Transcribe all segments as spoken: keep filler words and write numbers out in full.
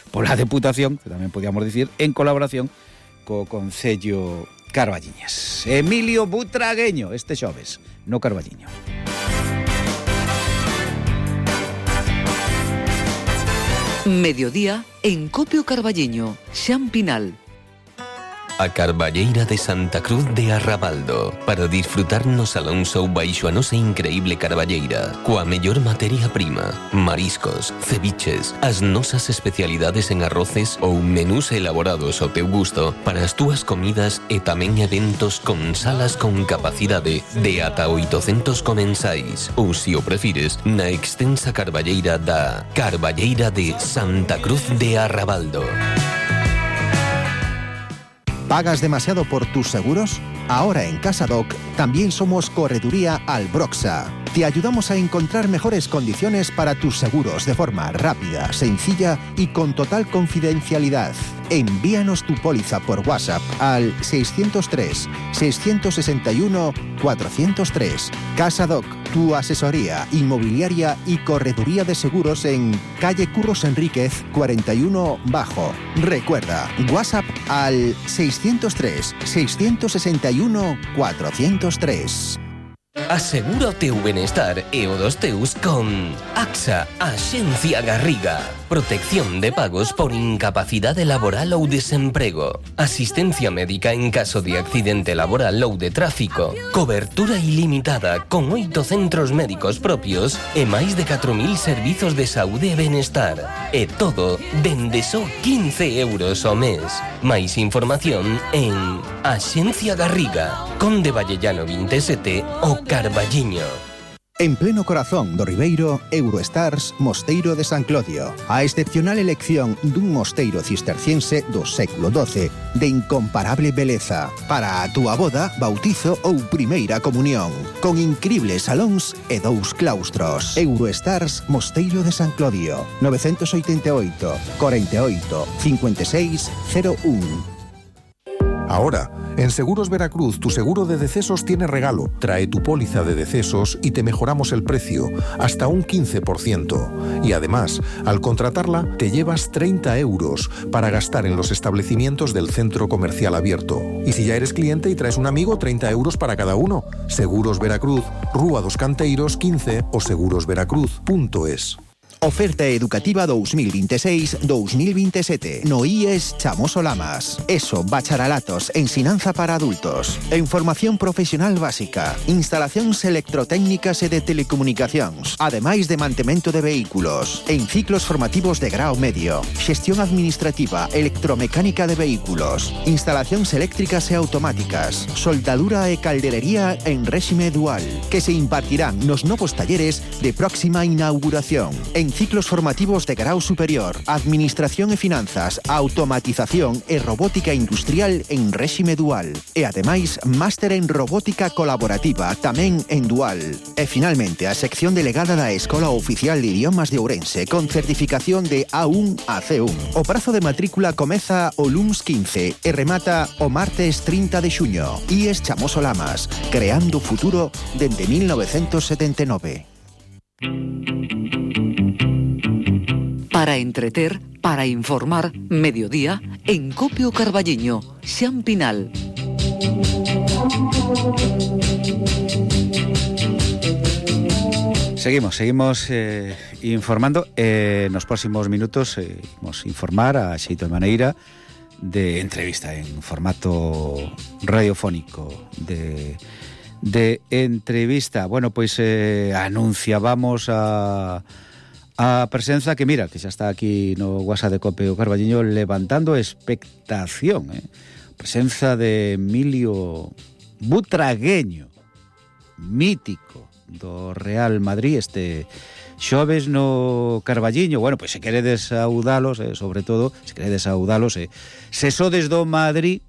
pola Deputación, que tamén podíamos dicir, en colaboración co Concello Carballiñas. Emilio Butragueño, este xoves, no Carballiño. Mediodía en Copio Carballiño, Xan Pinal. A Carballeira de Santa Cruz de Arrabaldo, para disfrutar no Salón Show baixo a nosa increíble carballeira, coa mellor materia prima, mariscos, ceviches, as nosas especialidades en arroces ou menús elaborados ao teu gusto para as túas comidas e tamén eventos con salas con capacidade de ata oitocentos comensais, ou, se o prefires, na extensa carballeira da Carballeira de Santa Cruz de Arrabaldo. ¿Pagas demasiado por tus seguros? Ahora en CasaDoc también somos Correduría Albroxa. Te ayudamos a encontrar mejores condiciones para tus seguros de forma rápida, sencilla y con total confidencialidad. Envíanos tu póliza por WhatsApp al seiscientos tres, seiscientos sesenta y uno, cuatrocientos tres. CasaDoc, tu asesoría inmobiliaria y correduría de seguros en calle Curros Enríquez cuarenta y uno Bajo. Recuerda, WhatsApp al seiscientos tres, seiscientos sesenta y uno, cuatrocientos tres. Asegura o teu benestar e o dos teus con AXA, Axencia Garriga. Protección de pagos por incapacidade laboral ou desemprego. Asistencia médica en caso de accidente laboral ou de tráfico. Cobertura ilimitada con oito centros médicos propios e máis de catro mil servizos de saúde e benestar. E todo dende só quince euros ao mes. Máis información en Axencia Garriga, Conde Vallellano veinte e sete o Carballiño. En pleno corazón do Ribeiro, Eurostars Mosteiro de San Clodio. A excepcional elección dun mosteiro cisterciense do século doce de incomparable beleza para a túa boda, bautizo ou primeira comunión, con incribles salóns e dous claustros. Eurostars Mosteiro de San Clodio, novecentos oitenta e oito, cuarenta y ocho, cincuenta y seis, cero uno. Ahora, en Seguros Veracruz, tu seguro de decesos tiene regalo. Trae tu póliza de decesos y te mejoramos el precio, hasta un quince por ciento. Y además, al contratarla, te llevas treinta euros para gastar en los establecimientos del centro comercial abierto. Y si ya eres cliente y traes un amigo, treinta euros para cada uno. Seguros Veracruz, Rúa dos Canteiros quince o seguros veracruz punto es. Oferta educativa dos mil veintiséis dos mil veintisiete. No I E S Chamoso Lamas. ESO, bacharelatos, ensinanza para adultos. En formación profesional básica. Instalacións electrotécnicas e de telecomunicacións. Ademais de mantemento de vehículos. En ciclos formativos de grao medio. Xestión administrativa, electromecánica de vehículos. Instalacións eléctricas e automáticas. Soldadura e calderería en réxime dual. Que se impartirán nos novos talleres de próxima inauguración. En ciclos formativos de grau superior, administración e finanzas, automatización e robótica industrial en réxime dual. E ademais, máster en robótica colaborativa tamén en dual. E finalmente, a sección delegada da Escola Oficial de Idiomas de Ourense con certificación de A uno a C uno. O prazo de matrícula comeza o luns quince e remata o martes trinta de xuño. I E S Chamoso Lamas, creando futuro dende mil novecentos setenta e nove. Para entreter, para informar, mediodía, en Copio Carballiño, Xan Pinal. Seguimos, seguimos eh, informando. Eh, nos próximos minutos eh, vamos informar a xeito de maneira de entrevista en formato radiofónico de, de entrevista. Bueno, pois eh, anunciábamos a a presenza que, mira, que xa está aquí no WhatsApp de Copio Carballiño levantando expectación, eh? Presenza de Emilio Butragueño, mítico do Real Madrid, este xoves no Carballiño. Bueno, pois se queredes saudalos, eh, sobre todo, se queredes saudalos, eh, se sodes do Madrid,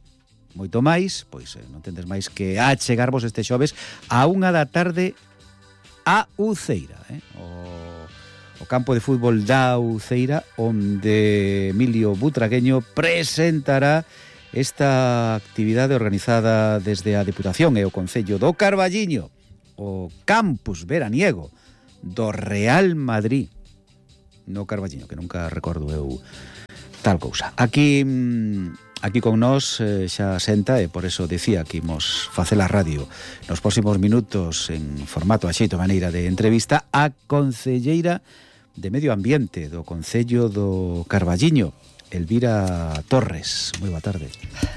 moito máis, pois eh, non tendes máis que achegarvos este xoves a unha da tarde a Uceira, eh? O o campo de fútbol da Uceira, onde Emilio Butragueño presentará esta actividade organizada desde a Deputación e o Concello do Carballiño, o campus veraniego do Real Madrid, no Carballiño, que nunca recordo eu tal cousa. Aquí aquí con nós eh, xa senta, e por eso decía que imos facer a radio nos próximos minutos en formato a xeito maneira de entrevista a concelleira de Medio Ambiente do Concello do Carballiño, Elvira Torres. Moi boa tarde.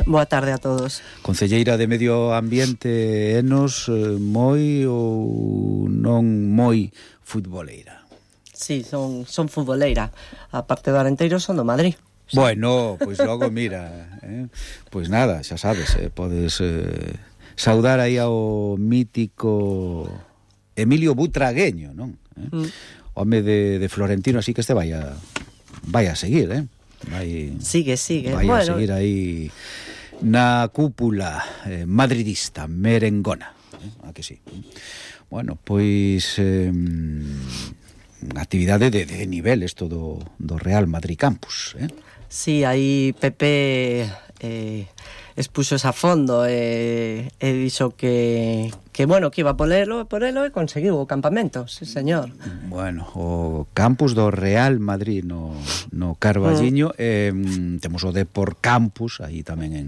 Boa tarde a todos. Concelleira de Medio Ambiente, enos moi ou non moi futboleira? Sí, son, son futboleira. A parte do Arenteiro son do Madrid. Bueno, pois pues logo mira, eh? Pois pues nada, xa sabes, eh? podes eh, saudar aí ao mítico Emilio Butragueño, non? Eh? Mm. Home de, de Florentino, así que este vai a, vai a seguir, eh? Vai, sigue, sigue. Vai bueno. a seguir aí na cúpula eh, madridista, merengona, eh? A que sí. Bueno, pois eh, actividade de, de nivel isto do, do Real Madrid Campus, eh? Sí, aí Pepe eh, expuxo a fondo e, e dixo que, que bueno, que iba a ponerlo, ponerlo e conseguiu o campamento, sí señor. Bueno, o campus do Real Madrid no, no Carballiño, mm. eh, temos o Depor Campus aí tamén en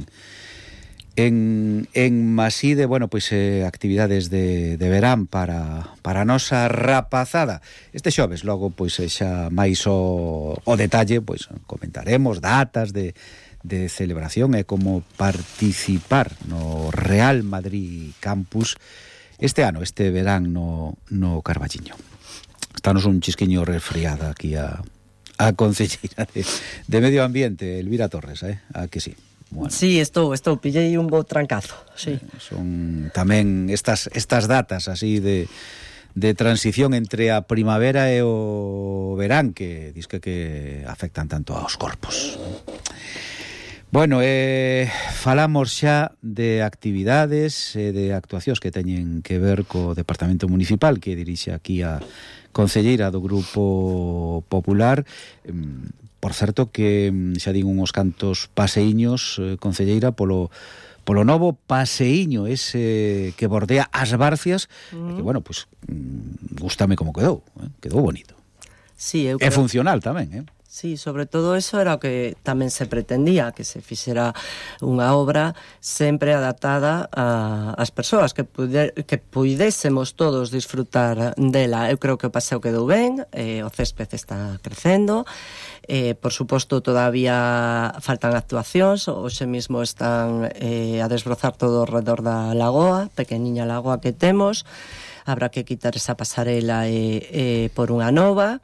en, en Maside, bueno, pois eh, actividades de, de verán para, para a nosa rapazada. Este xoves logo pois xa máis o, o detalle, pois comentaremos datas de de celebración e como participar no Real Madrid Campus este ano, este verán no, no Carballiño. Estános un chisquiño resfriada aquí a, a concelleira de, de Medio Ambiente, Elvira Torres, eh? A que sí. Bueno. Sí, estou, estou, pillei un bo trancazo, sí. Eh, son tamén estas, estas datas así de, de transición entre a primavera e o verán que disque que afectan tanto aos corpos. Bueno, eh, falamos xa de actividades e de actuacións que teñen que ver co Departamento Municipal que dirixe aquí a concelleira do Grupo Popular. Por certo que xa din uns cantos paseiños, eh, concelleira, polo polo novo paseiño ese que bordea as Barcias, mm. que, bueno, pues, gústame como quedou, eh? Quedou bonito. Sí, eu creo... É creo... funcional tamén, eh? Sí, sobre todo eso era o que tamén se pretendía, que se fixera unha obra sempre adaptada a, as persoas, que, puder, que puidésemos todos disfrutar dela. Eu creo que o paseo quedou ben, eh, o césped está crecendo, eh, por suposto todavía faltan actuacións, hoxe mismo están eh, a desbrozar todo ao redor da lagoa, pequeniña lagoa que temos. Habrá que quitar esa pasarela e, e por unha nova.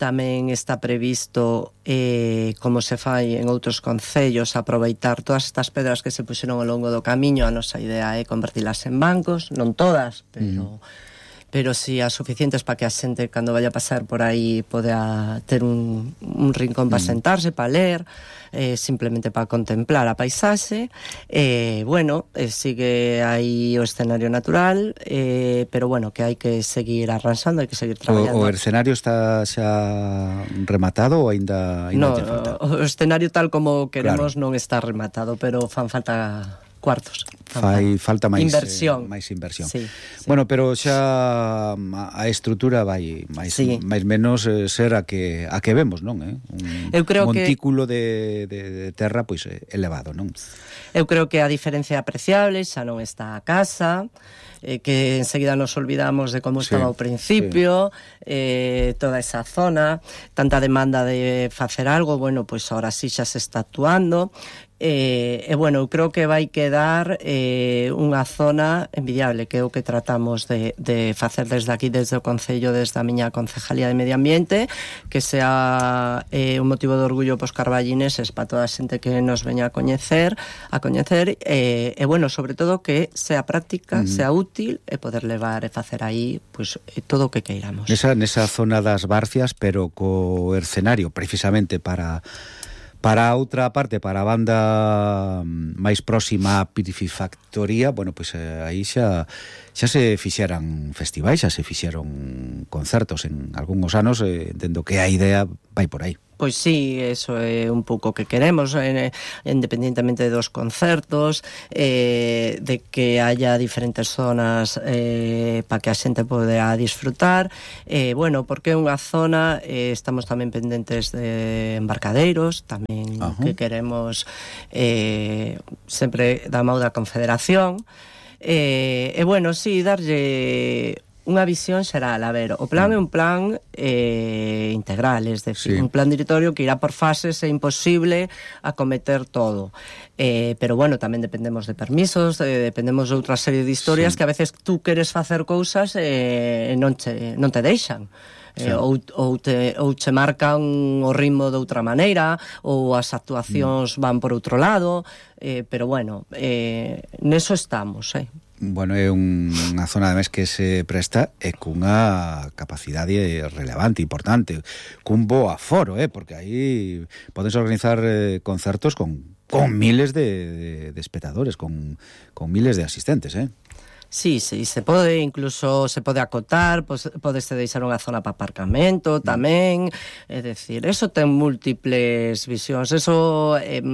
Tamén está previsto, eh, como se fai en outros concellos, aproveitar todas estas pedras que se puxeron ao longo do camiño. A nosa idea é convertilas en bancos, non todas, pero... Mm. pero si as suficientes para que a xente cando vaya a pasar por aí poda ter un, un rincón para sentarse, para ler, eh, simplemente para contemplar a paisaxe. Eh, bueno, eh, sigue aí o escenario natural, eh, pero bueno, que hai que seguir arranxando, hai que seguir traballando. O, o escenario está xa rematado ou aínda no, falta? O escenario tal como queremos claro. Non está rematado, pero fan falta cuartos. Fai falta máis inversión. Eh, máis inversión. Sí, sí. Bueno, pero xa a estrutura vai máis sí. máis menos eh, ser a que a que vemos, non, eh? Un Eu creo montículo que... de, de, de terra pois elevado, non? Eu creo que a diferencia é apreciable, xa non está a casa, eh, que enseguida nos olvidamos de como sí, estaba ao principio, sí. eh, toda esa zona, tanta demanda de facer algo, bueno, pois pues ahora sí xa se está actuando. E, eh, eh, bueno, eu creo que vai quedar eh, unha zona envidiable, que é o que tratamos de, de facer desde aquí, desde o Concello, desde a miña Concejalía de Medio Ambiente, que sea eh, un motivo de orgullo pos carballineses para toda a xente que nos veña a coñecer, a coñecer, e eh, eh, bueno, sobre todo que sea práctica, mm. sea útil e poder levar e facer aí pues, eh, todo o que queiramos. Nesa, nesa zona das Barcias, pero co escenario precisamente para... Para a outra parte, para a banda máis próxima á Piscifactoría, bueno, pois pues, eh, aí xa xa se fixeran festivais, xa se fixeron concertos en algúns anos, eh, entendo que a idea vai por aí. Pois sí, eso é un pouco que queremos, eh, independentemente dos concertos, eh, de que haya diferentes zonas eh, para que a xente poda disfrutar. Eh, bueno, porque é unha zona, eh, estamos tamén pendentes de embarcadeiros, tamén uh-huh. que queremos eh, sempre da mão da Confederación. E eh, eh, bueno, sí, darlle unha visión xeral. A ver, o plan é un plan eh, integral, es decir, sí. un plan directorio que irá por fases, é imposible acometer todo. Eh, pero bueno, tamén dependemos de permisos, eh, dependemos de outra serie de historias sí. que a veces tú queres facer cousas e eh, non, che, non te deixan. Sí. Eh, ou, ou, te, ou che marcan o ritmo de outra maneira, ou as actuacións mm. van por outro lado, eh, pero bueno, eh, neso estamos, eh. Bueno, é unha zona ademais que se presta e cunha capacidade relevante, importante, cun bo aforo, eh, porque aí podes organizar eh, concertos con, con miles de, de, de espectadores, con, con miles de asistentes, eh. Sí, sí, se pode, incluso se pode acotar, podese deixar unha zona para aparcamento tamén, é dicir, eso ten múltiples visións, eso eh,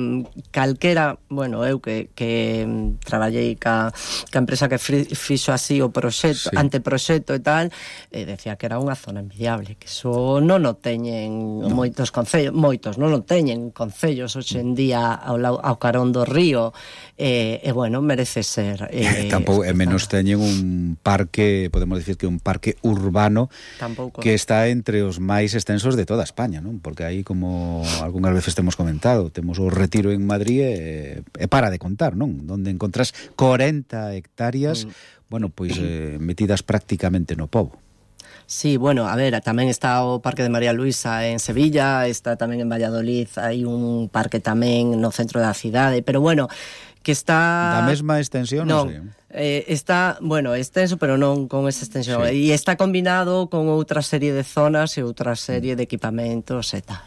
calquera, bueno, eu que, que traballei ca, ca empresa que fixo así o proxecto, sí. anteproxecto e tal, eh, decía que era unha zona envidiable, que eso non o teñen no. moitos concellos, moitos non o teñen concellos hoxe en día ao, ao carón do río, e eh, eh, bueno, merece ser eh, tampouco é menos teñen un parque, podemos decir que un parque urbano Tampouco. que está entre os máis extensos de toda España, non? Porque aí, como algunhas veces temos comentado, temos o Retiro en Madrid e, e para de contar, non? Donde encontras corenta hectáreas, mm. bueno, pois eh, metidas prácticamente no pobo. Sí, bueno, a ver, tamén está o Parque de María Luisa en Sevilla, está tamén en Valladolid, hai un parque tamén no centro da cidade, pero bueno, que está... Da mesma extensión, non, non sei. Eh, está, bueno, extenso, pero non con esa extensión. Sí. E está combinado con outra serie de zonas e outra serie de equipamentos e tal.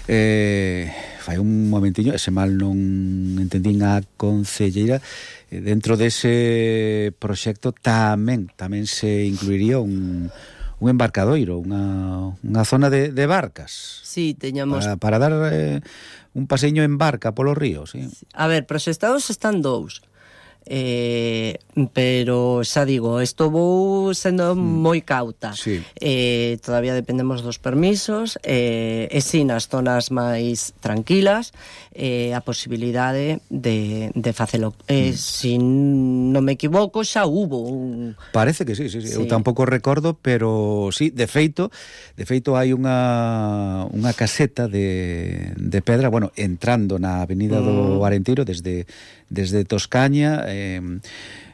Eh, fai un momentiño, ese mal non entendín a concelleira, eh, dentro dese proxecto tamén tamén se incluiría un, un embarcadoiro, unha, unha zona de, de barcas. Sí, teñamos... Para, para dar eh, un paseño en barca polo río, sí. A ver, proxectados están dous. Eh, pero xa digo, isto vou sendo mm. moi cauta, sí. eh, todavía dependemos dos permisos, eh, e si nas zonas máis tranquilas eh, a posibilidade de, de facelo, eh, mm. si non me equivoco xa hubo un... Parece que sí, sí, sí. sí. Eu tampouco recordo, pero sí, de feito de feito hai unha unha caseta de, de pedra, bueno, entrando na avenida mm. do Arenteiro desde desde Toscaña, eh,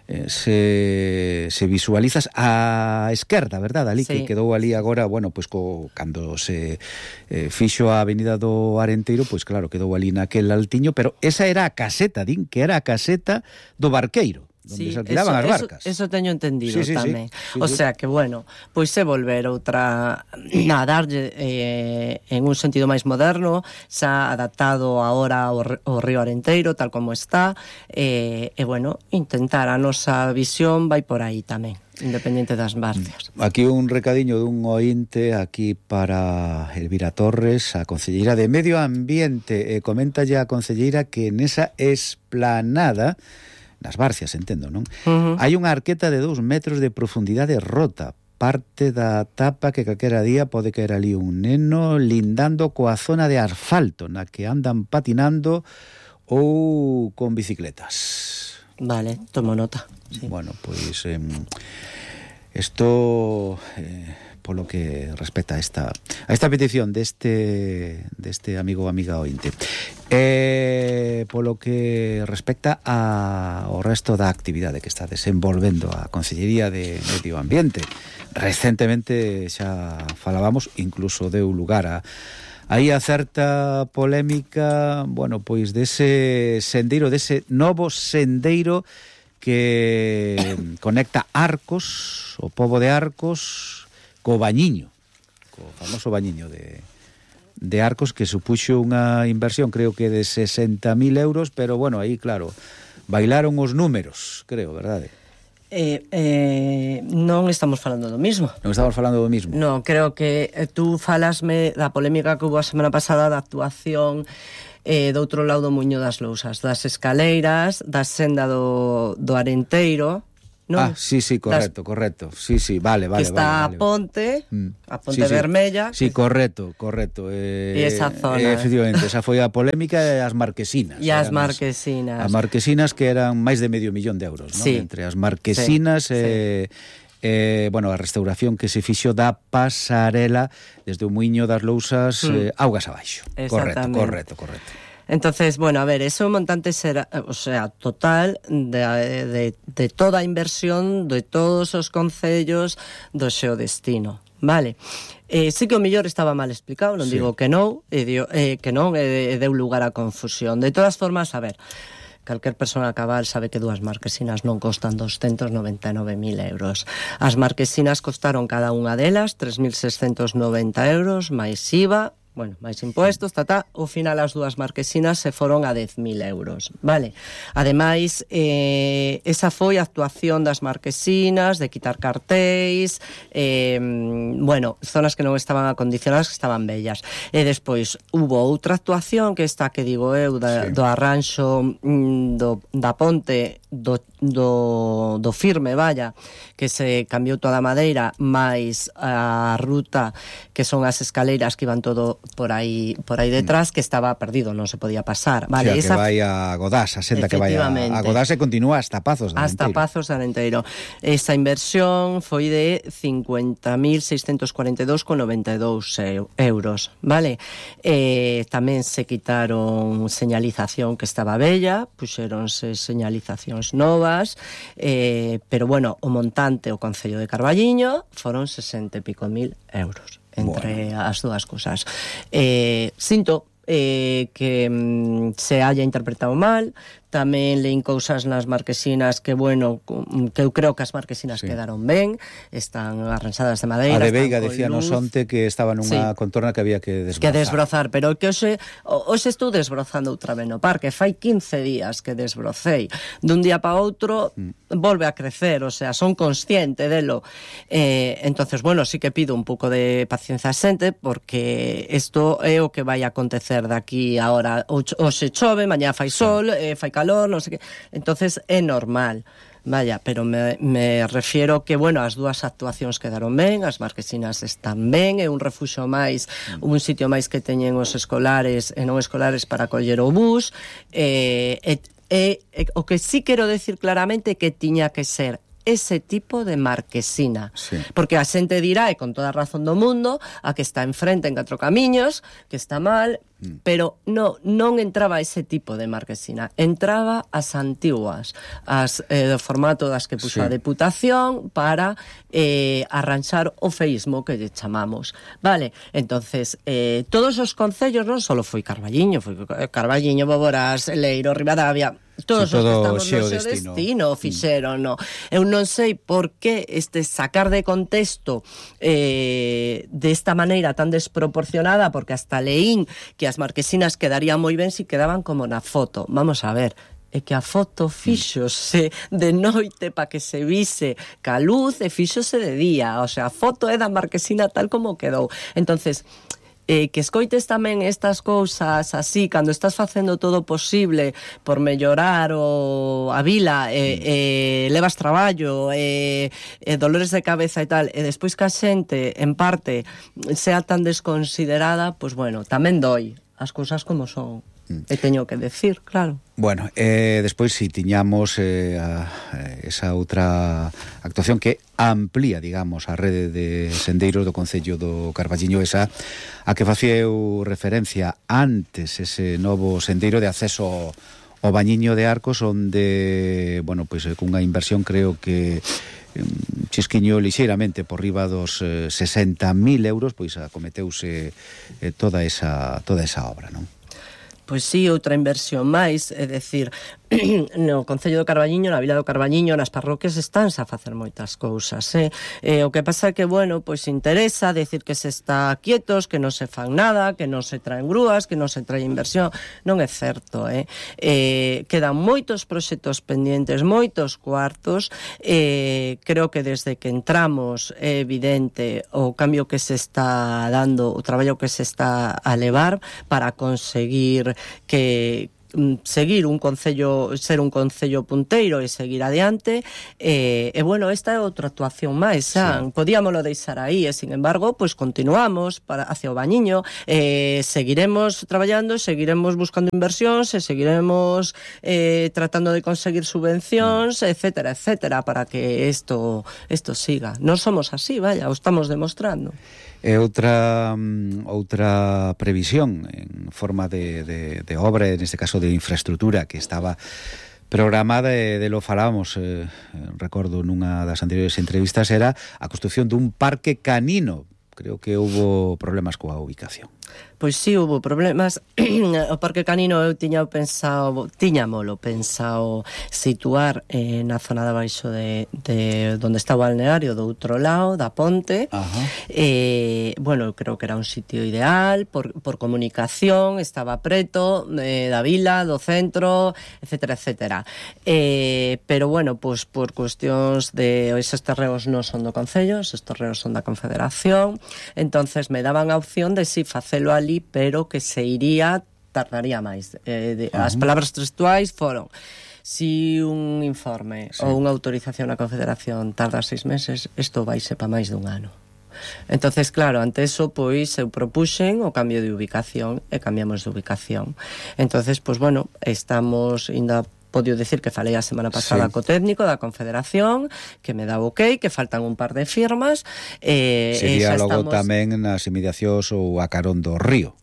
eh, se, se visualizas a esquerda, verdad, ali, sí. que quedou ali agora, bueno, pois co, cando se eh, fixo a avenida do Arenteiro, pois claro, quedou ali naquel altiño, pero esa era a caseta, din que era a caseta do barqueiro, donde sí, se alquilaban eso, as barcas. Eso, eso teño entendido sí, sí, tamén. Sí, sí, o sí. sea que, bueno, pois se volver outra a darlle eh, en un sentido máis moderno, xa adaptado agora ao, ao río Arenteiro, tal como está, e, eh, eh, bueno, intentar a nosa visión vai por aí tamén, independente das barcias. Aquí un recadiño dun ointe aquí para Elvira Torres, a concelleira de Medio Ambiente, e coméntalle a concelleira que nesa esplanada nas Barcias, entendo, non? Uh-huh. Hai unha arqueta de dous metros de profundidade rota, parte da tapa que calquera día pode caer ali un neno lindando coa zona de asfalto na que andan patinando ou con bicicletas. Vale, tomo nota. Sí. Bueno, pois eh, isto eh, polo que respecta a esta a esta petición deste deste amigo ou amiga ointe. Eh, polo que respecta a, ao resto da actividade que está desenvolvendo a Consellería de Medio Ambiente, recentemente xa falábamos, incluso deu lugar a aí a certa polémica, bueno, pois dese sendeiro, dese novo sendeiro que conecta Arcos, o pobo de Arcos, co Bañiño, co famoso Bañiño de, de Arcos, que supuxo unha inversión, creo que de sesenta mil euros, pero bueno, aí, claro, bailaron os números, creo, verdade? Eh, eh, non estamos falando do mismo. Non estamos falando do mismo? Non, creo que eh, tú falasme da polémica que hubo a semana pasada da actuación eh, do outro lado do Muiño das Lousas, das escaleiras, da senda do, do Arenteiro, non? Ah, sí, sí, correcto, das, correcto. Sí, sí, vale, vale. Que está vale, vale. a ponte, mm. a ponte sí, vermella. Sí, sí, correcto, correcto. Eh, e esa zona. Eh, efectivamente, esa foi a polémica e as marquesinas. E as marquesinas. As marquesinas que eran máis de medio millón de euros, sí. non? Entre as marquesinas e... Sí, sí. Eh, bueno, a restauración que se fixo da pasarela desde o Muiño das Lousas mm. eh, augas abaixo. Correcto, correcto, correcto. Entonces, bueno, a ver, ese montante será, o sea, total de, de, de toda a inversión de todos os concellos do Xeodestino, vale? Eh, sí que o mellor estaba mal explicado, non sí. digo que non, e dio, eh, que non, e, e deu lugar a confusión. De todas formas, a ver, calquer persona cabal sabe que dúas marquesinas non costan doscientos noventa e nove mil euros. As marquesinas costaron cada unha delas tres mil seiscentos noventa euros, máis I V A, bueno, máis impuestos, tata, ao final as dúas marquesinas se foron a dez mil euros, vale? Ademais, eh, esa foi a actuación das marquesinas, de quitar cartéis, eh, bueno, zonas que non estaban acondicionadas, que estaban bellas. E despois, hubo outra actuación, que esta que digo eu, da, sí. do arranxo do, da ponte, do, do, do firme, vaya, que se cambiou toda a madeira, máis a ruta, que son as escaleiras que iban todo por aí por aí detrás, que estaba perdido, non se podía pasar, vale, o sea, esa... que vai a Godás, a senda que vai a, a Godás e continúa hasta Pazos de Arenteiro. Hasta Pazos de Arenteiro. Esa inversión foi de cincuenta mil seiscentos cuarenta e dous con noventa e dous euros, vale? Eh, tamén se quitaron señalización que estaba bella, puxéronse señalizacións novas, eh, pero bueno, o montante o Concello de Carballiño foron sesenta e pico mil euros. Entre bueno. as dúas cousas. Eh, sinto eh, que mm, se haya interpretado mal. Tamén leín cousas nas marquesinas que, bueno, que eu creo que as marquesinas sí. quedaron ben, están arranxadas de madeira. A de Veiga decía no onte que estaba nunha sí. contorna que había que desbrozar. Que desbrozar, pero que hoxe, hoxe estou desbrozando outra vez no parque. Fai quince días que desbrocei. Dun día para outro mm. volve a crecer, o sea, son consciente delo. Eh, entonces, bueno, sí que pido un pouco de paciencia a xente, porque isto é o que vai a acontecer daqui ahora. Hoxe chove, mañá fai sol, sí. eh, fai calor, non sei que. Entonces é normal. Vaya, pero me, me refiero que, bueno, as dúas actuacións quedaron ben, as marquesinas están ben, é un refuxo máis, un sitio máis que teñen os escolares e non escolares para coller o bus. Eh, e, e, e, o que sí quero decir claramente é que tiña que ser ese tipo de marquesina. Sí. Porque a xente dirá, e con toda a razón do mundo, a que está enfrente en Catro Camiños, que está mal, mm. pero no, non entraba ese tipo de marquesina. Entraba as antiguas, as eh, do formato das que puxo sí. a Deputación para eh, arranxar o feísmo que lle chamamos. Vale, entonces, eh, todos os concellos, non só foi Carballiño, foi Carballiño, Boborás, Leiro, Ribadavia, todos sí, os que estamos no seu destino fixeron, no. Eu non sei por que este sacar de contexto eh, desta maneira tan desproporcionada, porque hasta leín que as marquesinas quedarían moi ben se si quedaban como na foto. Vamos a ver, é que a foto fíxose de noite para que se vise ca luz e fíxose de día, o sea, a foto é da marquesina tal como quedou. Entonces, Eh, que escoites tamén estas cousas así, cando estás facendo todo o posible por mellorar o, a vila, e eh, eh, levas traballo, e eh, eh, dolores de cabeza e tal, e despois que a xente, en parte, sea tan desconsiderada, pois bueno, tamén doi as cousas como son. Mm. E teño que decir, claro. Bueno, eh, despois si tiñamos eh, a, esa outra actuación que amplía, digamos, a rede de sendeiros do Concello do Carballiño, esa a que facía eu referencia antes, ese novo sendeiro de acceso ao Bañiño de Arcos, onde, bueno, pois pues, cunha inversión creo que chisquiño lixeiramente por riba dos eh, sesenta mil euros, pois acometeuse eh, toda esa toda esa obra, non? Pois sí, outra inversión máis, é dicir, no Concello do Carballiño, na Vila do Carballiño, nas parroquias estánse a facer moitas cousas, eh? Eh, o que pasa é que, bueno, pois interesa decir que se está quietos, que non se fan nada, que non se traen grúas, que non se trae inversión. Non é certo, eh? Eh, quedan moitos proxectos pendientes, moitos cuartos. Eh, creo que desde que entramos é evidente o cambio que se está dando, o traballo que se está a levar para conseguir que seguir un concello, ser un concello punteiro e seguir adiante, e, e bueno, esta é outra actuación máis, xa, sí. Podíamoslo deixar aí, e sin embargo, pois continuamos para hacia o Bañiño, e seguiremos traballando, seguiremos buscando inversións, e seguiremos eh, tratando de conseguir subvencións, mm. etcétera, etcétera, para que isto isto siga. Non somos así, vaya, o estamos demostrando. E outra outra previsión en forma de, de, de obra, en este caso de infraestructura, que estaba programada, e de lo falábamos, eh, recordo nunha das anteriores entrevistas, era a construción dun parque canino. Creo que hubo problemas coa ubicación. Pois sí, hubo problemas. O Parque Canino eu tiña pensado, tiñamolo pensado situar eh, na zona de abaixo de, de donde está o balneario, do outro lado, da ponte. Eh, bueno, eu creo que era un sitio ideal, por, por comunicación, estaba preto eh, da vila, do centro, etcétera, etcétera. Eh, pero bueno, pues por cuestións de esos terreos non son do Concello, esos terreos son da Confederación, entonces me daban a opción de si facelo ali, pero que se iría, tardaría máis. Eh, de, uh-huh. As palabras textuais foron: si un informe sí. ou unha autorización na Confederación tarda seis meses, isto vaise pa máis dun ano. Entonces, claro, ante eso, pois, eu propuxen o cambio de ubicación e cambiamos de ubicación. Entonces, pois, bueno, estamos ainda podio decir que falei a semana pasada sí. co técnico da Confederación, que me dá o ok, que faltan un par de firmas. Eh, Sería e logo estamos... tamén nas inmediacións ou a carón do río.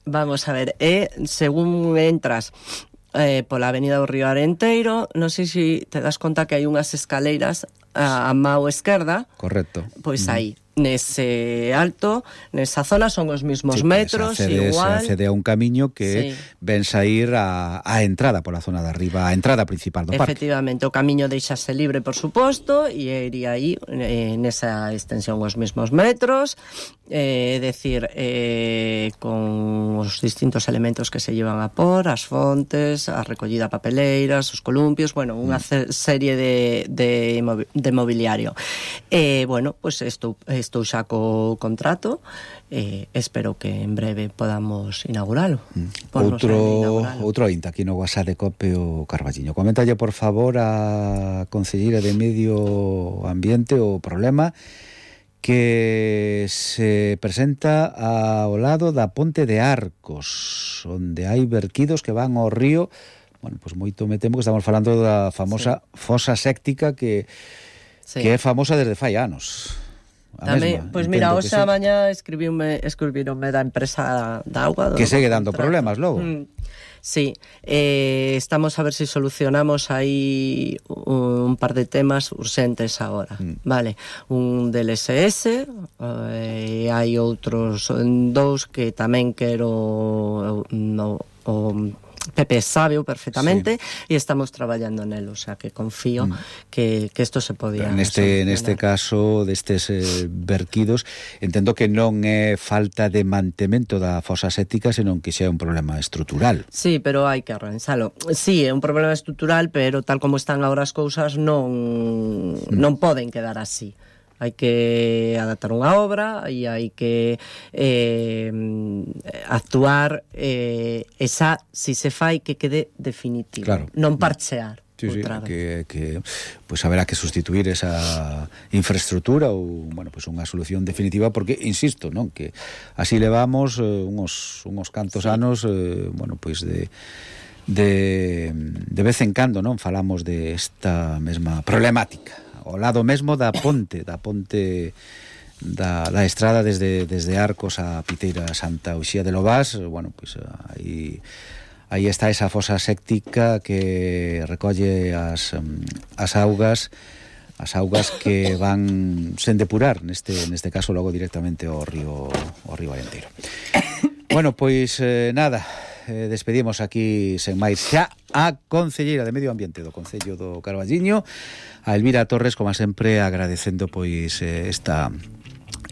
Vamos a ver, e según entras eh, pola avenida do Río Arenteiro, non sei se te das conta que hai unhas escaleiras a, a mao esquerda. Correcto. Pois mm. aí, nese alto, nesa zona son os mismos sí, metros, accede, igual. Se accede a un camiño que sí. ven sair a, a entrada pola zona de arriba, a entrada principal do parque. Efectivamente, o camiño deixase libre, por suposto, e iría aí eh, nesa extensión os mismos metros, é eh, decir, eh, con os distintos elementos que se llevan a por, as fontes, a recollida papeleiras, os columpios, bueno, unha mm. serie de, de, de mobiliario. Eh, bueno, pues estou, estou xa co contrato, eh, espero que en breve podamos inauguralo. Mm. Outro, outro inta aquí no WhatsApp de Cope o Carballiño. Coméntalle, por favor, a Concelleira de Medio Ambiente o problema que se presenta ao lado da Ponte de Arcos, onde hai verquidos que van ao río. Bueno, pois moito me temo que estamos falando da famosa sí. fosa séptica que, sí. que é famosa desde fai anos. Tamén, pois mira, hoxe a mañá escribiume, escribironme da empresa da auga do, que segue dando contrato. Problemas logo. Mm. Sí, eh, estamos a ver si solucionamos aí un par de temas urxentes agora, mm. vale, un del S S, e eh, hai outros dous que tamén quero no, o Pepe sabe perfectamente sí. e estamos traballando nelo, o sea que confío mm. que, que esto se podía neste, neste caso destes eh, verquidos, entendo que non é falta de mantemento da fosa séptica, senón que xa é un problema estrutural. Sí, pero hai que arranxalo. Sí, é un problema estrutural, pero tal como están agora as cousas non, mm. non poden quedar así. Hai que adaptar unha obra e hai que eh, actuar eh, esa, si se fai, que quede definitivo, claro. non parchear. Sí, sí, que, que pues haberá que sustituir esa infraestructura ou, bueno, pues unha solución definitiva, porque insisto, non, que así levamos eh, uns uns cantos sí. anos, eh, bueno, pois pues de de de vez en cando, non, falamos de esta mesma problemática. Ao lado mesmo da ponte, da ponte da, da estrada desde, desde Arcos a Piteira Santa Uxía de Lobás, bueno, pois pues, aí, aí está esa fosa séptica que recolle as, as augas, as augas que van sen depurar, neste, neste caso logo directamente ao río, ao río Arenteiro. Bueno, pois eh, nada, eh, despedimos aquí sen máis xa a concelleira de Medio Ambiente do Concello do Carballiño, a Elvira Torres, como sempre, agradecendo pois eh, esta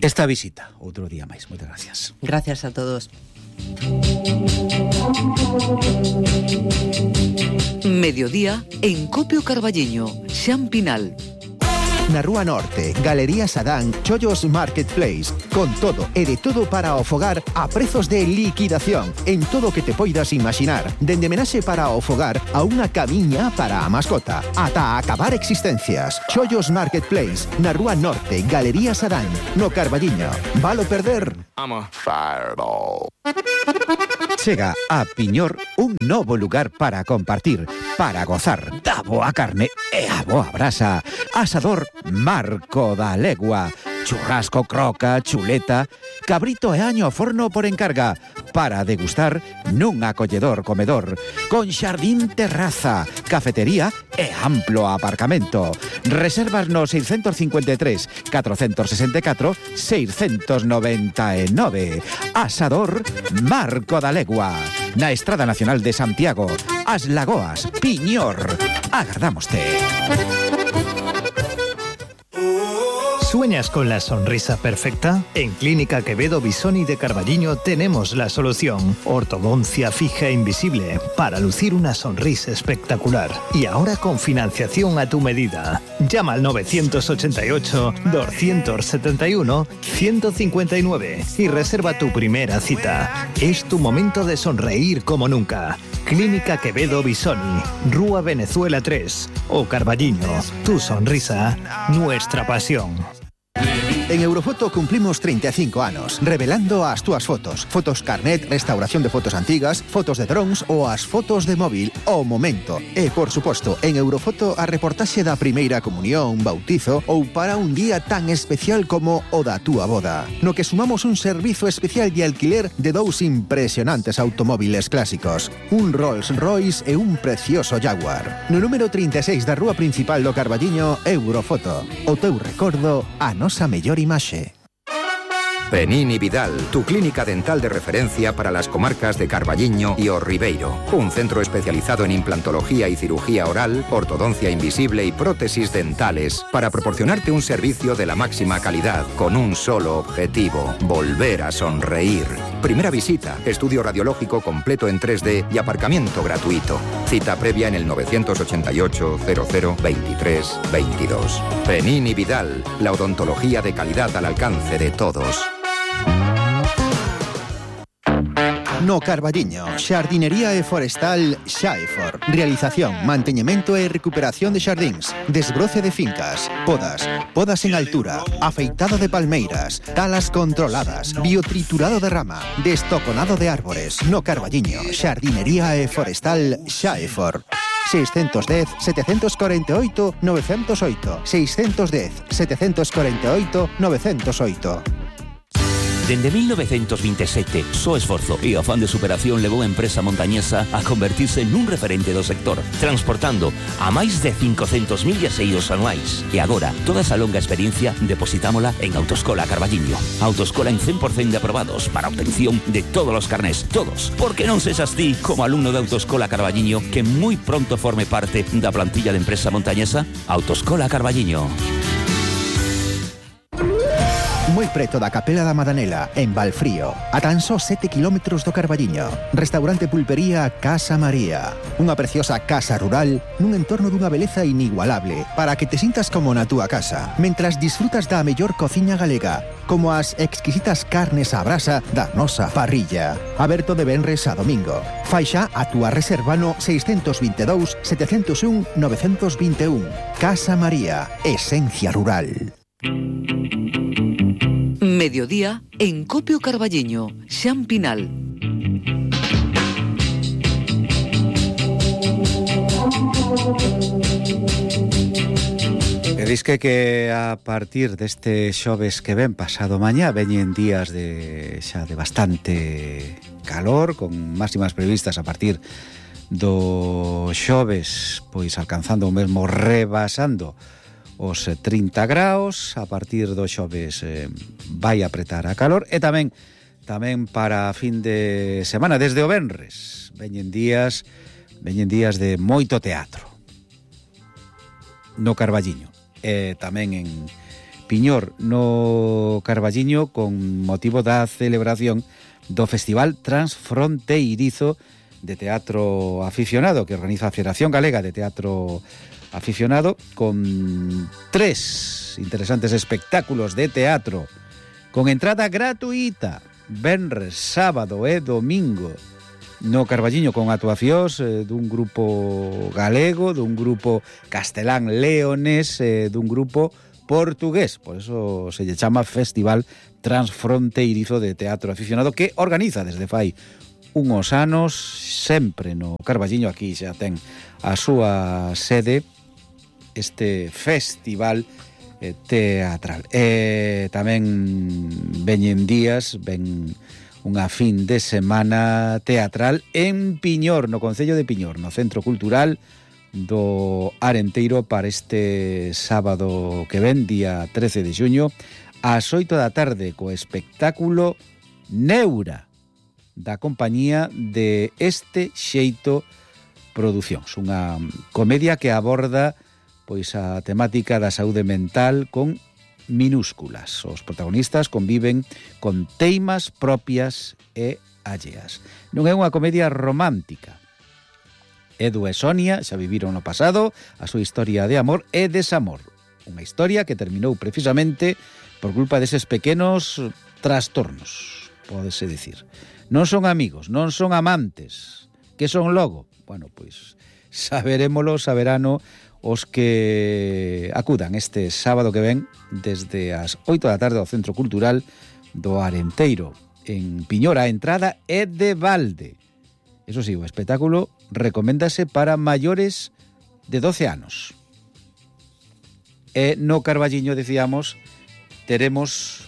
esta visita outro día máis. Moitas gracias. Gracias a todos. Mediodía en Copio Carballiño, Xan Pinal. Na Rúa Norte, Galería Sadán, Chollos Marketplace, con todo e de todo para o fogar a prezos de liquidación en todo o que te poidas imaginar, dende menaxe para o fogar a unha camiña para a mascota, ata acabar existencias. Chollos Marketplace, na Rúa Norte, Galería Sadán, no Carballiño. Valo perder? I'm a fireball. Chega a Piñor un novo lugar para compartir, para gozar da boa carne e a boa brasa. Asador Marco da Legua. Churrasco, croca, chuleta, cabrito e año ao forno por encarga, para degustar nun acolledor comedor, con xardín terraza, cafetería e amplo aparcamento. Reservas no seiscentos cincuenta e tres, catrocentos sesenta e catro, seiscentos noventa e nove. Asador Marco da Legua, na Estrada Nacional de Santiago, As Lagoas, Piñor. Agardámoste. ¿Sueñas con la sonrisa perfecta? En Clínica Quevedo Bisoni de Carballiño tenemos la solución. Ortodoncia fija e invisible para lucir una sonrisa espectacular. Y ahora con financiación a tu medida. Llama al nueve ocho ocho, dos siete uno, uno cinco nueve y reserva tu primera cita. Es tu momento de sonreír como nunca. Clínica Quevedo Bisoni, Rúa Venezuela tres o Carballiño. Tu sonrisa, nuestra pasión. En Eurofoto cumplimos treinta e cinco anos, revelando as túas fotos. Fotos carnet, restauración de fotos antigas, fotos de drones ou as fotos de móvil ao momento. E, por suposto, en Eurofoto a reportaxe da primeira comunión, bautizo ou para un día tan especial como o da túa boda. No que sumamos un servizo especial de alquiler de dous impresionantes automóviles clásicos, un Rolls Royce e un precioso Jaguar. No número trinta e seis da rúa principal do Carballiño, Eurofoto. O teu recordo, a nosa mellor imaxe. Penini Vidal, tu clínica dental de referencia para las comarcas de Carballiño y O Ribeiro. Un centro especializado en implantología y cirugía oral, ortodoncia invisible y prótesis dentales para proporcionarte un servicio de la máxima calidad con un solo objetivo: volver a sonreír. Primera visita, estudio radiológico completo en tres D y aparcamiento gratuito. Cita previa en el nueve ocho ocho, cero cero, veintitrés, veintidós. Penini Vidal, la odontología de calidad al alcance de todos. No Carballiño, xardinería e forestal Xaefor. Realización, manteñemento e recuperación de xardíns, desbroce de fincas, podas, podas en altura, afeitado de palmeiras, talas controladas, biotriturado de rama, destoconado de árbores. No Carballiño, xardinería e forestal Xaefor. seiscentos dez, setecientos cuarenta y ocho, novecientos ocho. seiscentos dez, setecientos cuarenta y ocho, novecientos ocho. Dende mil novecientos veintisiete, so esforzo e afán de superación levou a empresa montañesa a convertirse nun referente do sector, transportando a máis de cincocentos mil viaxeiros anuais. E agora, toda esa longa experiencia depositámola en Autoescola Carballiño. Autoescola en cien por cento de aprobados para obtención de todos os carnés, todos. Porque non sexas ti, como alumno de Autoescola Carballiño, que moi pronto forme parte da plantilla de empresa montañesa. Autoescola Carballiño. Moi preto da Capela da Madanela, en Valfrío, a tan só sete kilómetros do Carballiño. Restaurante Pulpería Casa María. Unha preciosa casa rural nun entorno dunha beleza inigualable para que te sintas como na túa casa, mentras disfrutas da mellor cociña galega, como as exquisitas carnes á brasa da nosa parrilla. Aberto de venres a domingo. Fai xa a túa reserva no seiscentos veintidós, setecentos un, novecientos veintiún. Casa María, esencia rural. Mediodía en Copio Carballiño, Xan Pinal. E disque que a partir deste xoves que ven pasado mañá veñen días de xa de bastante calor, con máximas previstas a partir do xoves, pois alcanzando o mesmo, rebasando os trinta graus. A partir do xoves eh, vai apretar a calor e tamén tamén para a fin de semana, desde o venres. Veñen días, veñen días de moito teatro no Carballiño, e tamén en Piñor, no Carballiño, con motivo da celebración do Festival Transfronteirizo de Teatro Aficionado, que organiza a Federación Galega de Teatro Aficionado, con tres interesantes espectáculos de teatro, con entrada gratuita, venres, sábado e domingo, no Carballiño, con actuacións eh, dun grupo galego, dun grupo castelán leonés, eh, dun grupo portugués. Por eso se lle chama Festival Transfronteirizo de Teatro Aficionado, que organiza desde fai unhos anos, sempre no Carballiño. Aquí xa ten a súa sede este festival eh, teatral. E tamén veñen días, ven unha fin de semana teatral en Piñor, no Concello de Piñor, no Centro Cultural do Arenteiro, para este sábado que ven, día trece de xuño, ás oito da tarde, co espectáculo Neura, da compañía de Este Xeito Producións, unha comedia que aborda pois a temática da saúde mental con minúsculas. Os protagonistas conviven con teimas propias e alleas. Non é unha comedia romántica. Edu e Sonia xa viviron no pasado a súa historia de amor e desamor. Unha historia que terminou precisamente por culpa deses pequenos trastornos, pódese dicir. Non son amigos, non son amantes. Que son logo? Bueno, pois saberémolo, saberano os que acudan este sábado que ven desde as oito da tarde ao Centro Cultural do Arenteiro, en Piñor. A entrada é de balde. Eso sí, o espectáculo recoméndase para maiores de doce anos. E no Carballiño, decíamos, teremos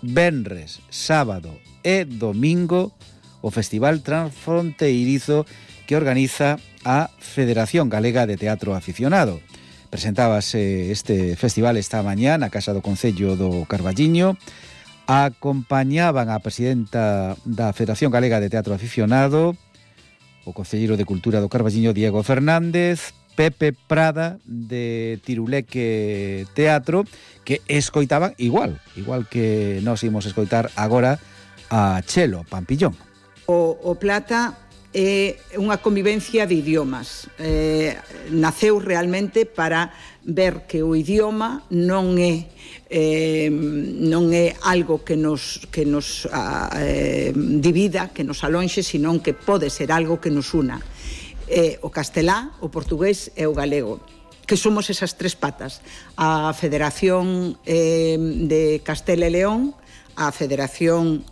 venres, sábado e domingo o Festival Transfronteirizo que organiza a Federación Galega de Teatro Aficionado. Presentábase este festival esta mañá na Casa do Concello do Carballiño. Acompañaban a presidenta da Federación Galega de Teatro Aficionado, o concelleiro de Cultura do Carballiño, Diego Fernández, Pepe Prada, de Tiruleque Teatro, que escoitaban igual, igual que nós imos escoitar agora a Chelo Pampillón. O, o Plata é unha convivencia de idiomas. Eh, naceu realmente para ver que o idioma non é eh, non é algo que nos que nos eh, divida, que nos alonxe, senón que pode ser algo que nos una. Eh, o castelá, o portugués e o galego, que somos esas tres patas. A Federación eh, de Castela e León, a Federación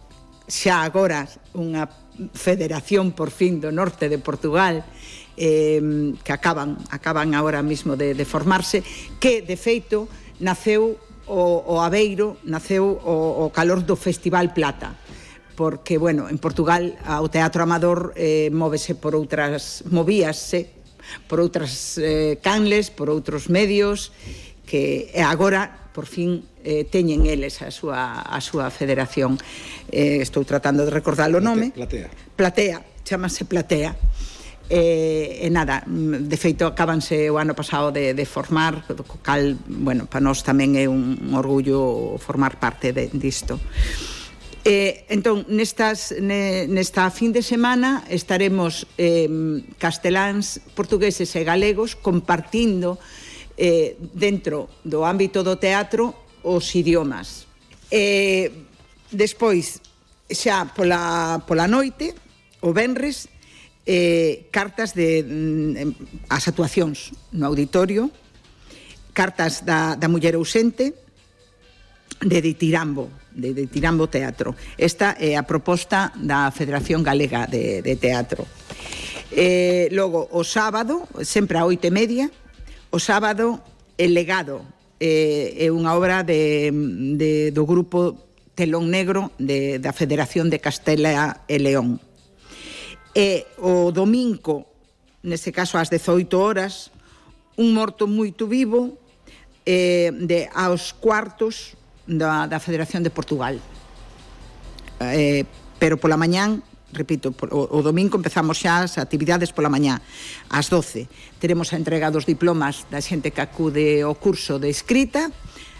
xa agora unha Federación por fin do norte de Portugal, eh, que acaban acaban agora mismo de, de formarse, que de feito naceu o, o Aveiro, naceu o, o calor do Festival Plata, porque, bueno, en Portugal o teatro amador eh, móvese por outras, movíase por outras eh, canles, por outros medios, que agora por fin eh, teñen eles a súa, a súa federación. Eh, estou tratando de recordar o nome. Platea. Platea, chamase Platea. Eh, e nada, de feito acabanse o ano pasado de, de formar, co cal, bueno, para nós tamén é un, un orgullo formar parte de, disto. Eh, entón, nestas, ne, nesta fin de semana estaremos eh, casteláns, portugueses e galegos compartindo eh, dentro do ámbito do teatro os idiomas. Eh, despois, xa pola, pola noite, o venres, eh, cartas de mm, as actuacións no auditorio, cartas da, da muller ausente, de Ditirambo, de Ditirambo Teatro. Esta é a proposta da Federación Galega de, de Teatro. Eh, logo, o sábado, sempre a oito e media, o sábado, El Legado, eh, é unha obra de, de, do grupo Telón Negro de, da Federación de Castela e León. E o domingo, neste caso ás dezoito horas, Un morto moito vivo, eh, de aos cuartos da, da Federación de Portugal. Eh, pero pola mañán, repito, o, o domingo empezamos xa as actividades pola mañá, ás doce. Teremos a entrega dos diplomas da xente que acude ao curso de escrita,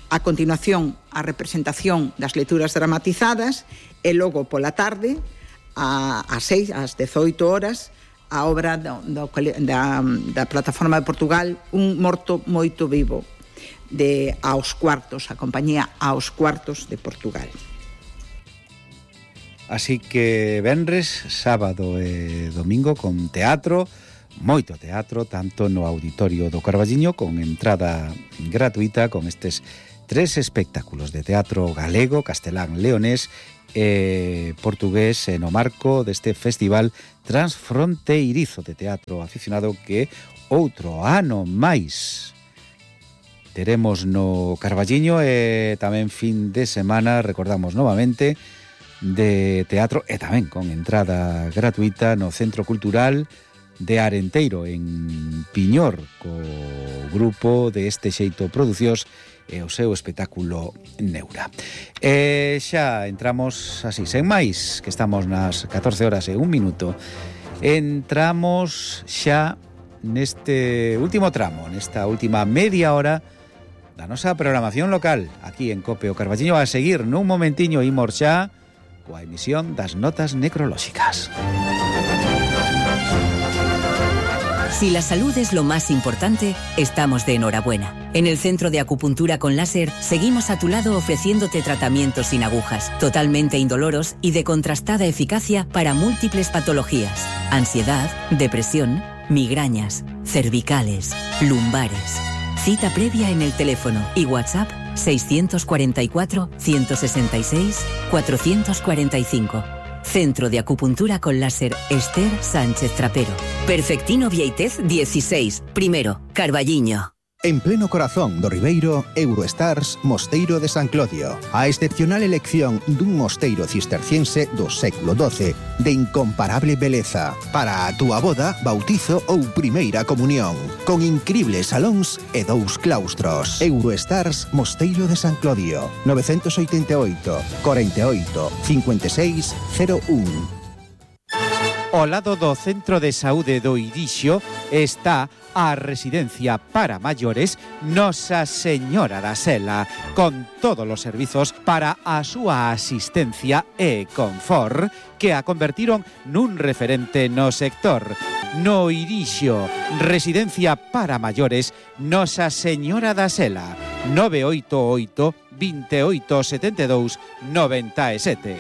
a continuación a representación das lecturas dramatizadas e logo pola tarde, a, a seis, ás dezoito horas, a obra do, do, da, da Plataforma de Portugal, Un morto moito vivo, de Aos Cuartos, a compañía Aos Cuartos de Portugal. Así que venres, sábado e domingo con teatro, moito teatro, tanto no Auditorio do Carballiño, con entrada gratuita, con estes tres espectáculos de teatro galego, castelán, leonés e portugués no marco deste festival transfronteirizo de teatro aficionado que outro ano máis teremos no Carballiño e tamén fin de semana, recordamos novamente, de teatro e tamén con entrada gratuita no Centro Cultural de Arenteiro en Piñor, co grupo de Este Xeito Producións e o seu espectáculo Neura. E xa entramos así, sen máis, que estamos nas catorce horas e un minuto. Entramos xa neste último tramo, nesta última media hora da nosa programación local aquí en Cope o Carballiño. A seguir nun momentiño imos xa coa emisión das notas necrolóxicas. Si la salud es lo más importante, estamos de enhorabuena. En el Centro de Acupuntura con Láser seguimos a tu lado ofreciéndote tratamientos sin agujas, totalmente indoloros y de contrastada eficacia para múltiples patologías: ansiedad, depresión, migrañas, cervicales, lumbares. Cita previa en el teléfono y WhatsApp seiscientos cuarenta y cuatro, ciento sesenta y seis, cuatrocientos cuarenta y cinco. Centro de Acupuntura con Láser Esther Sánchez Trapero. Perfectino Vieitez dieciséis, primero, Carballiño. En pleno corazón do Ribeiro, Eurostars Mosteiro de San Clodio. A excepcional elección dun mosteiro cisterciense do século doce de incomparable beleza para a túa boda, bautizo ou primeira comunión, con incribles salóns e dous claustros. Eurostars Mosteiro de San Clodio, novecentos oitenta e oito, cuarenta e oito, cincuenta e seis, cero un. Ao lado do Centro de Saúde do Irixo está a residencia para maiores Nosa Señora da Sela, con todos os servizos para a súa asistencia e confort que a convertiron nun referente no sector. No Irixo, residencia para maiores Nosa Señora da Sela, nove oito oito, veintiocho setenta e dous, noventa e sete.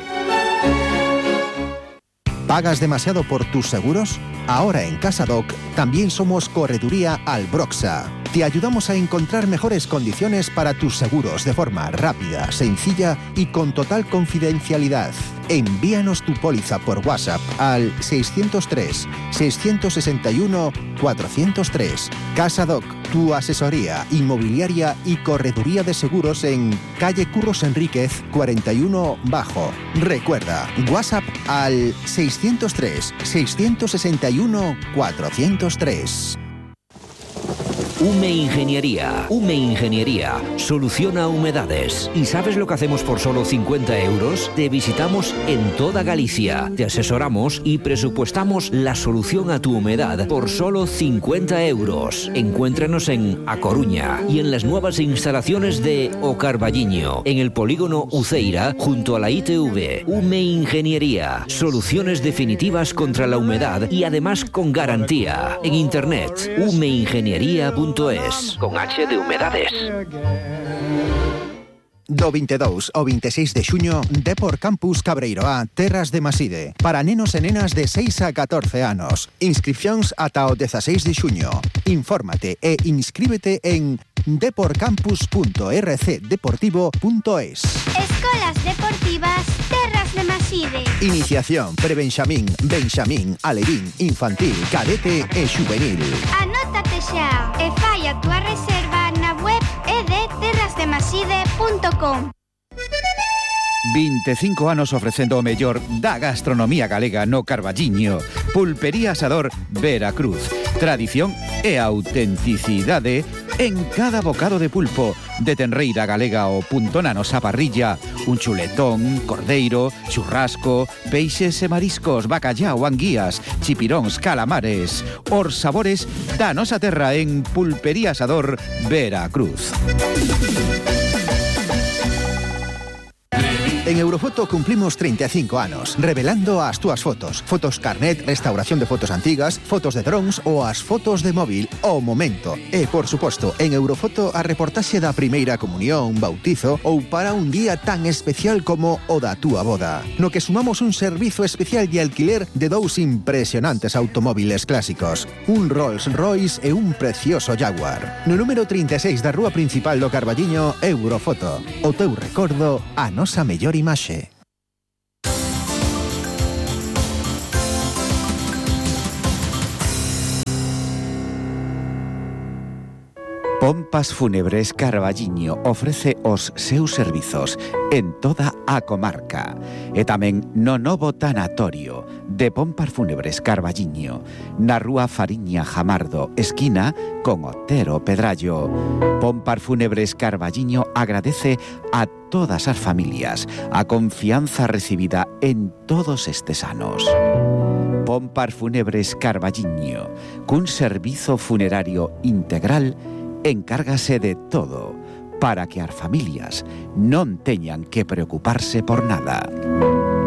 ¿Pagas demasiado por tus seguros? Ahora en CasaDoc también somos Correduría Albroxa. Te ayudamos a encontrar mejores condiciones para tus seguros de forma rápida, sencilla y con total confidencialidad. Envíanos tu póliza por WhatsApp al seiscientos tres, seiscientos sesenta y uno, cuatrocientos tres. CasaDoc, tu asesoría inmobiliaria y correduría de seguros en calle Curros Enríquez cuarenta y uno Bajo. Recuerda, WhatsApp al seiscientos tres, seiscientos sesenta y uno, cuatrocientos tres. Ume Ingeniería. Ume Ingeniería soluciona humedades. ¿Y sabes lo que hacemos por solo cincuenta euros? Te visitamos en toda Galicia, te asesoramos y presupuestamos la solución a tu humedad por solo cincuenta euros. Encuéntranos en A Coruña y en las nuevas instalaciones de O Carballiño, en el polígono Uceira, junto a la I T V. Ume Ingeniería. Soluciones definitivas contra la humedad y además con garantía. En internet, umeingeniería punto es, con H de humedades. Do veintidós ao veintiséis de xuño, Depor Campus Cabreiroá, Terras de Maside, para nenos e nenas de seis a catorce anos. Inscripcións ata o dezasseis de xuño. Infórmate e inscríbete en deporcampus punto r c deportivo punto es. Escolas Deportivas Terras de Maside. Iniciación, prebenxamín, benxamín, alevín, infantil, cadete e xuvenil. Anótate xa e fai a túa reserva na web e de terras de maside punto com. veinticinco anos ofrecendo o mellor da gastronomía galega no Carballiño. Pulpería Asador Veracruz. Tradición e autenticidade en cada bocado de pulpo. De tenreira galega ao punto na nosa parrilla. un chuletón, cordeiro, churrasco, peixes e mariscos, bacallao, anguías, chipiróns, calamares. Os sabores da nosa terra en Pulpería Asador Veracruz. En Eurofoto cumplimos treinta e cinco anos, revelando as túas fotos. Fotos carnet, restauración de fotos antigas, fotos de drons ou as fotos de móvil ao momento. E, por suposto, en Eurofoto a reportaxe da primeira comunión, bautizo ou para un día tan especial como o da túa boda. No que sumamos un servizo especial de alquiler de dous impresionantes automóviles clásicos. Un Rolls Royce e un precioso Jaguar. No número trinta e seis da rúa principal do Carballiño, Eurofoto. O teu recordo, a nosa mellor imaxe. Pompas Fúnebres Carballiño ofrece os seus servizos en toda a comarca e tamén no novo tanatorio de Pompas Fúnebres Carballiño na rúa Fariña Jamardo, esquina con Otero Pedrallo. Pompas Fúnebres Carballiño agradece a todas as familias a confianza recibida en todos estes anos. Pompas Fúnebres Carballiño, cun servizo funerario integral, encárgase de todo para que as familias non teñan que preocuparse por nada.